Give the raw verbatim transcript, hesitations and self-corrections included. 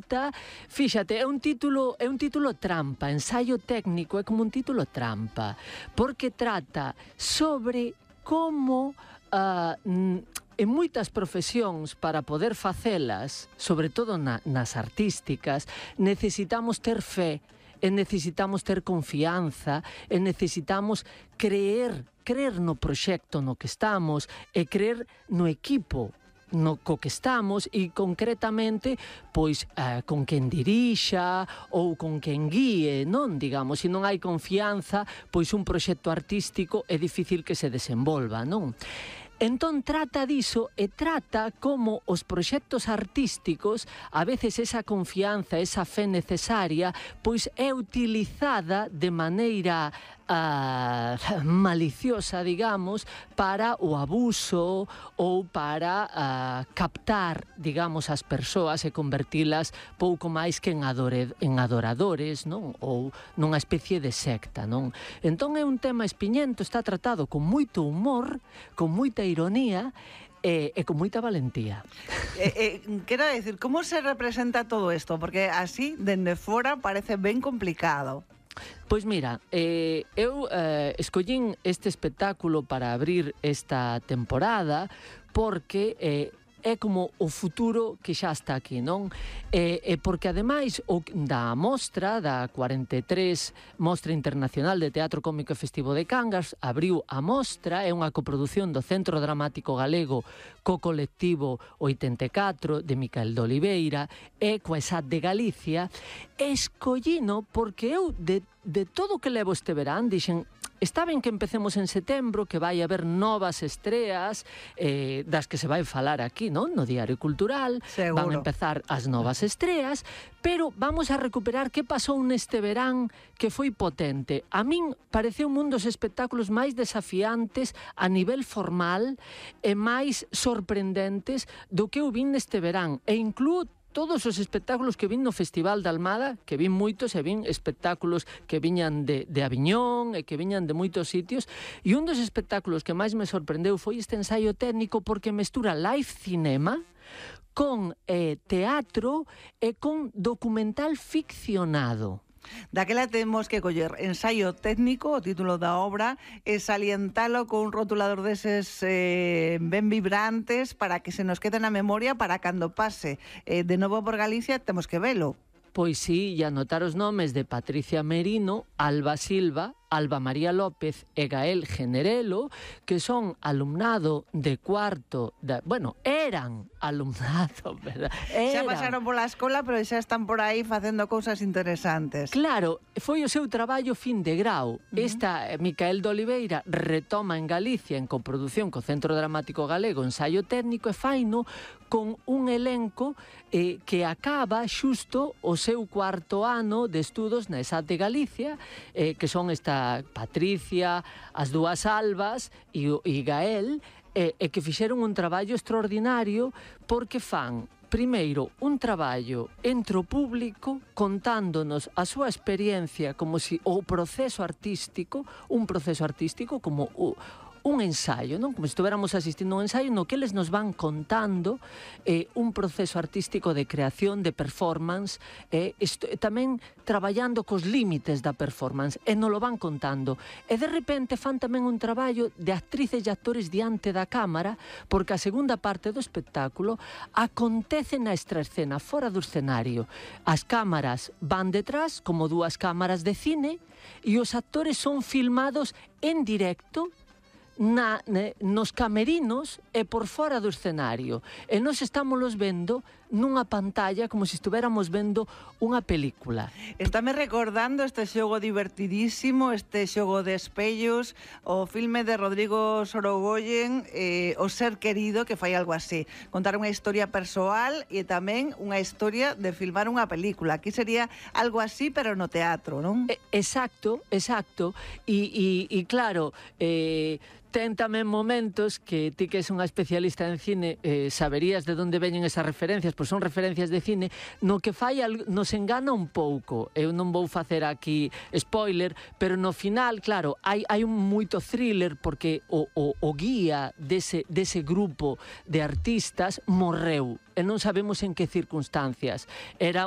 trata, fíxate, é un título, é un título trampa, ensaio técnico, é como un título trampa, porque trata sobre como uh, en moitas profesións, para poder facelas, sobre todo na, nas artísticas, necesitamos ter fe, e necesitamos ter confianza, e necesitamos creer, creer no proxecto no que estamos, e creer no equipo no co que estamos, e concretamente pois eh, con quen dirixa ou con quen guíe, non? Digamos, se non hai confianza, pois un proxecto artístico é difícil que se desenvolva, non? Entón trata diso e trata como os proxectos artísticos, a veces esa confianza, esa fe necesaria, pois é utilizada de maneira uh, maliciosa, digamos, para o abuso ou para uh, captar, digamos, as persoas e convertilas pouco máis que en, adore, en adoradores, non? Ou nunha especie de secta, non? Entón é un tema espiñento, está tratado con moito humor, con moita ironía e, e con moita valentía. Eh, eh, quero decir, como se representa todo isto? Porque así, dende fora, parece ben complicado. Pois mira, eh, eu eh, escollín este espectáculo para abrir esta temporada porque eh, é como o futuro que xa está aquí, non? E, e porque ademais o, da mostra, da cuarenta e tres Mostra Internacional de Teatro Cómico e Festivo de Cangas, abriu a mostra, é unha coprodución do Centro Dramático Galego co colectivo oitenta e catro de Micael de Oliveira e coa E S A T de Galicia. Escollino porque eu de, de todo o que levo este verán dixen, está ben que empecemos en setembro, que vai haber novas estreas eh, das que se vai falar aquí, non? No Diario Cultural. Seguro. Van a empezar as novas estreas, pero vamos a recuperar que pasou neste verán que foi potente. A min pareceu un dos espectáculos máis desafiantes a nivel formal e máis sorprendentes do que eu vin neste verán. E incluo todos os espectáculos que vin no Festival de Almada, que vin moitos, e vin espectáculos que viñan de, de Aviñón e que viñan de moitos sitios, e un dos espectáculos que máis me sorprendeu foi este ensaio técnico porque mestura live cinema con eh, teatro e con documental ficcionado. Daquela temos que coller ensaio técnico, o título da obra, e salientalo con un rotulador deses eh, ben vibrantes para que se nos quede na memoria para cando pase eh, de novo por Galicia temos que velo. Pois sí, e anotar os nomes de Patricia Merino, Alba Silva, Alba María López e Gael Generelo, que son alumnado de cuarto, de, bueno, eran alumnado, verdad? Eran. Xa pasaron pola escola, pero xa están por aí facendo cousas interesantes. Claro, foi o seu traballo fin de grau. Uh-huh. Esta, Micael de Oliveira, retoma en Galicia, en coproducción co Centro Dramático Galego, ensaio técnico e faino con un elenco eh, que acaba xusto o seu cuarto ano de estudos na E S A T de Galicia, eh, que son esta Patricia, as dúas Albas e, e Gael, e, e que fixeron un traballo extraordinario porque fan primeiro un traballo entre o público contándonos a súa experiencia como si o proceso artístico, un proceso artístico como o un ensaio, non? Como se estuviéramos asistindo a un ensaio no que eles nos van contando eh, un proceso artístico de creación, de performance, e eh, tamén traballando cos límites da performance, e nos lo van contando. E de repente fan tamén un traballo de actrices e actores diante da cámara, porque a segunda parte do espectáculo acontece na extraescena, fora do escenario. As cámaras van detrás, como dúas cámaras de cine, e os actores son filmados en directo, Na, ne, nos camerinos e por fora do escenario, e nos estámoslos vendo nunha pantalla como se estuviéramos vendo unha película. Estáme recordando este xogo divertidísimo, este xogo de espellos, o filme de Rodrigo Sorogoyen, eh, O ser querido, que fai algo así, contar unha historia persoal e tamén unha historia de filmar unha película. Aquí sería algo así, pero no teatro, non? Eh, exacto, exacto, e, e, e claro, eh, ten tamén momentos que ti que és unha especialista en cine eh, saberías de onde veñen esas referencias, pois son referencias de cine, no que fai nos engana un pouco. Eu non vou facer aquí spoiler, pero no final, claro, hai, hai un moito thriller porque o, o, o guía dese, dese grupo de artistas morreu e non sabemos en que circunstancias. Era